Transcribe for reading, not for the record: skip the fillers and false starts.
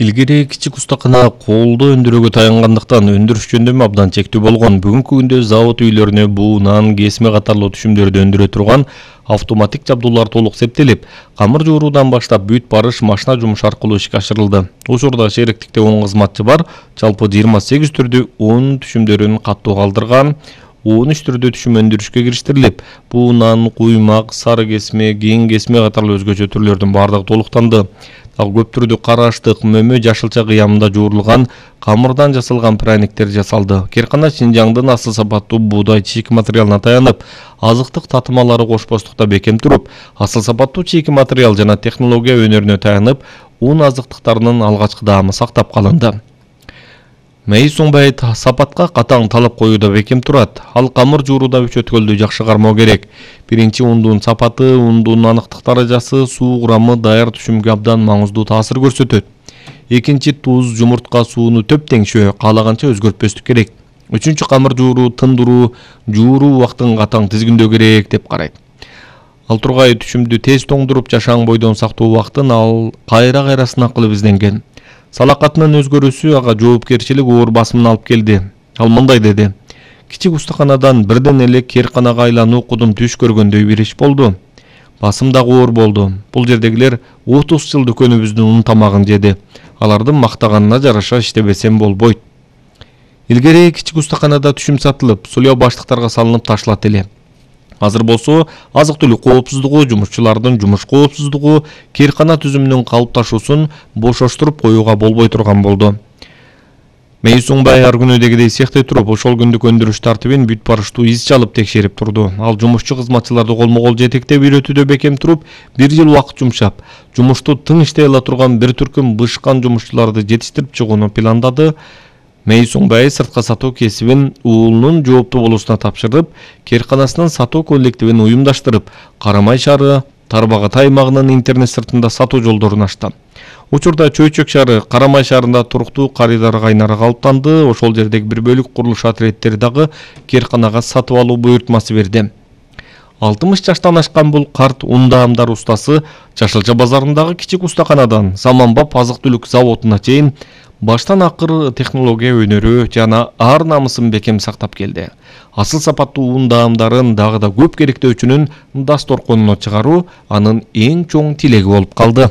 Илгери кичик устакана колдо өндүрүүгө таянгандыктан өндүрүш жөндөмү абдан чектүү болгон. Бүгүнкү күндө завод үйлөрүнө буу, нан, кесме катарлуу түшүмдөрдү өндүрө турган автоматик жабдуулар толук септелип, камыр жууруудан баштап бүт барыш машина жумушу аркылуу ишке ашырылды. Учурда шериктикте 10 кызматчы бар, жалпы 28 түрдүү 10 түшүмдөрүн каттуу калдырган. 13 түрдүү түшүм өндүрүшкө кириштирилип, буу нан, куймак, сары кесме, кең кесме катарлуу өзгөчө түрлөрдүн бардыгы толуктанды. Ал көп түрдүү караштык, мөмө, жашылча кыямында жуурулган камырдан жасалган пряниктер жасалды. Керкана Шинжаңдын асыл сапаттуу буудай чийки материалына таянып, азыктык татымалары кошпостукта бекем туруп, асыл сапаттуу чийки материал жана технология өнөрүнө таянып, ун азыктыктарынын алгачкы даамы сактап калынды. Мейис Оңбай сапатка катаң талап коюуда бекем турат. Ал камыр жууруда үч өткөлдү жакшы кармоо керек. Биринчи, ундун сапаты, ундун аныктык даражасы, суу курамы даяр түшүмгө абдан маңыздуу таасир көрсөтөт. Экинчи, туз, жумуртка сууну төп теңшөө, каалаганча өзгөртпөстүк керек. Үчүнчү, камыр жууруу, тындыруу, жууруу убактын катаң тизгиндөө керек деп карайт. Ал тургай түшүмдү тез тоңдуруп, жашаң бойдон сактоо убактын ал кайра сынак кылып изденген. Салакатынын өзгөрүүсү ага жоопкерчилик оор басымын алып келди. Ал мындай деди: кичик устаканадан бирден эле Керканага айлануу кудум түш көргөндөй бир иш болду. Басым дагы оор болду. Бул жердегилер 30 жыл дүкөнүбүздүн ун тамагын жеди. Алардын мактаганына жараша иштебесем болбойт. Илгери кичик устаканада түшүм сатылып, сулуу баштыктарга салынып ташылат эле. Азыр болсо азык-түлүк коопсуздугу, жумушчулардын жумуш коопсуздугу Керкана түзүмүнүн калыпташуусун бошоштуруп коюуга болбой турган болду. Мейис Оңбай ар күнүдегидей цехте туруп, ошол күндүк өндүрүш тартибин бүт барыштуу из чалып текшерип турду. Ал жумушчу кызматчыларды колмо-кол жетектеп үйрөтүүдө бекем туруп, 1 жыл убакыт жумшап, жумушту тың иштей ала турган бир түркүм бышкан жумушчуларды жетиштирип чыгууну пландады. Мейис Оңбай сыртка сатуу кесибин уулунун жооптуу болуусуна тапшырып, Керканасынын сатуу коллективин уюмдаштырып, Карамай шаары, Тарбагат аймагынын интернет сыртында сатуу жолдорун ачты. Учурда Чөйчөк шаары, Карамай шаарында туруктуу карыдар кайнары калыптанды. Ошол жердеги бир бөлүк курулуш отрядтери дагы Керканага сатып алуу буйртмасы берди. 60 жаштан ашкан бул карт ундаамдар устасы Жашылча базарындагы кичик устаканадан заманбап азык-түлүк заводуна чейин баштан акыр технология өнөрү жана ар намысын бекем сактап келди. Асыл сапаттуу ундаамдарын дагы да көп керектөөчүнүн дасторконуна чыгаруу анын эң чоң тилеги болуп калды.